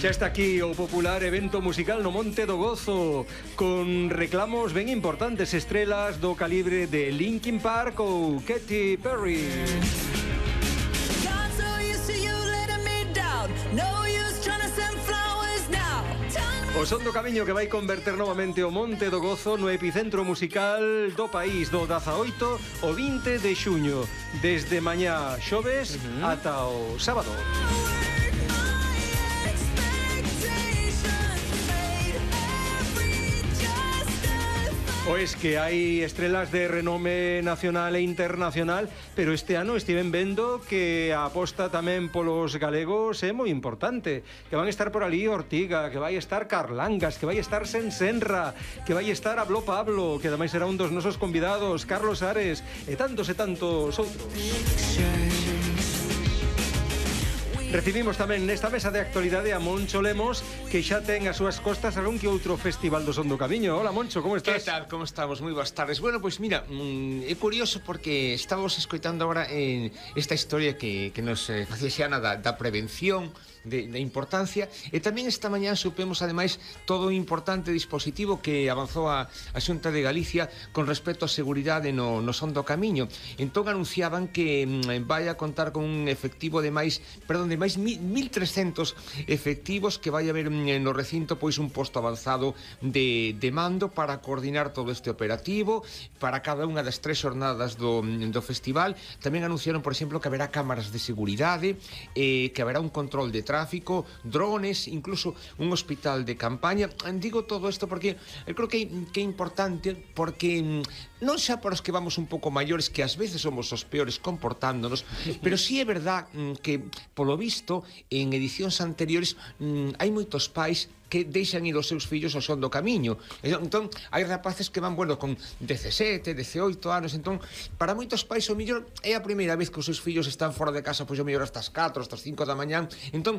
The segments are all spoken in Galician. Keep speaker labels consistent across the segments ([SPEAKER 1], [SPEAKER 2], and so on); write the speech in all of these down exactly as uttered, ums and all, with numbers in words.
[SPEAKER 1] Xa está aquí o popular evento musical no Monte do Gozo, con reclamos ben importantes, estrelas do calibre de Linkin Park ou Katy Perry. O son do camiño que vai converter novamente o Monte do Gozo no epicentro musical do país do dezaoito ao vinte de xuño, desde mañá xoves uh-huh. ata o sábado. Pois que hai estrelas de renome nacional e internacional, pero este ano estiven vendo que a aposta tamén polos galegos é moi importante, que van estar por ali Ortiga, que vai estar Carlangas, que vai estar Sensenra, que vai estar Hablo Pablo, que ademais será un dos nosos convidados, Carlos Ares, e tantos e tantos outros. Recibimos tamén nesta mesa de actualidade a Moncho Lemos, que xa ten as súas costas algún que outro festival do Son do Camiño. Hola, Moncho, como estás?
[SPEAKER 2] Que tal, como estamos? Moi boas tardes. Bueno, pois pues mira, mmm, é curioso porque estamos escoitando agora en esta historia que, que nos eh, facía xana da, da prevención, de, de importancia, e tamén esta mañá supemos ademais todo o importante dispositivo que avanzou a, a Xunta de Galicia con respecto á seguridade no, no Son do Camiño. Entón anunciaban que mmm, vai a contar con un efectivo de máis, perdón, de máis mil trescentos efectivos, que vai haber no recinto pois un posto avanzado de, de mando para coordinar todo este operativo para cada unha das tres xornadas do, do festival. Tamén anunciaron, por exemplo, que haberá cámaras de seguridade, eh, que haberá un control de tráfico, drones, incluso un hospital de campaña. Digo todo isto porque eu creo que, que é importante, porque non xa para os que vamos un pouco maiores, que ás veces somos os peores comportándonos, pero sí é verdad que, polo visto, en edicións anteriores mmm, hai moitos pais que deixan ir os seus fillos ao Son do Camiño. Entón, hai rapaces que van, bueno, con dezasete, dezaoito anos. Entón, para moitos pais, o mellor é a primeira vez que os seus fillos están fora de casa, pois o mellor hasta as catro, hasta as cinco da mañán. Entón,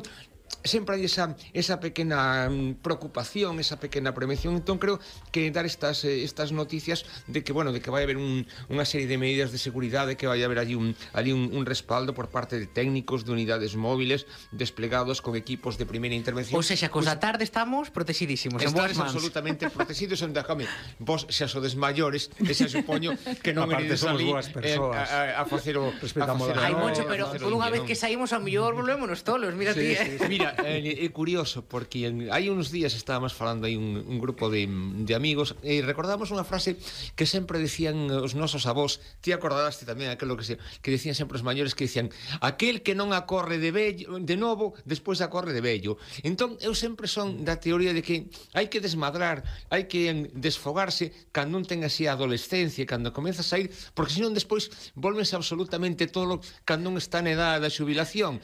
[SPEAKER 2] sempre hai esa, esa pequena mm, preocupación, esa pequena prevención. Entón, creo que dar estas, eh, estas noticias de que, bueno, de que vai haber un, unha serie de medidas de seguridade, que vai haber allí un, allí un, un respaldo por parte de técnicos de unidades móviles desplegados con equipos de primeira intervención.
[SPEAKER 3] Ou seja, cos da tarde estamos protegidísimos, en boas mans.
[SPEAKER 2] Absolutamente protegidos, onde, home, vos xa sodes maiores, e xa supoño que non iredes ali eh, a, a, a facer o...
[SPEAKER 1] Respetamos
[SPEAKER 3] a Ai, Moncho, pero por unha vez que saímos ao mellor volvémonos tolos, mira
[SPEAKER 2] sí,
[SPEAKER 3] ti.
[SPEAKER 2] Sí, sí. Mira, é eh, curioso, porque hai uns días estábamos falando aí un, un grupo de, de amigos, e recordamos unha frase que sempre decían os nosos avós, ti acordaste tamén aquilo que, se, que decían sempre os maiores, que decían, aquel que non acorre de, vello, de novo, despois acorre de vello. Entón, eu sempre son da teoría de que hai que desmadrar, hai que desfogarse cando non ten así a adolescencia, cando comeza a sair, porque senón despois volvense absolutamente todo cando non está na edad da xubilación.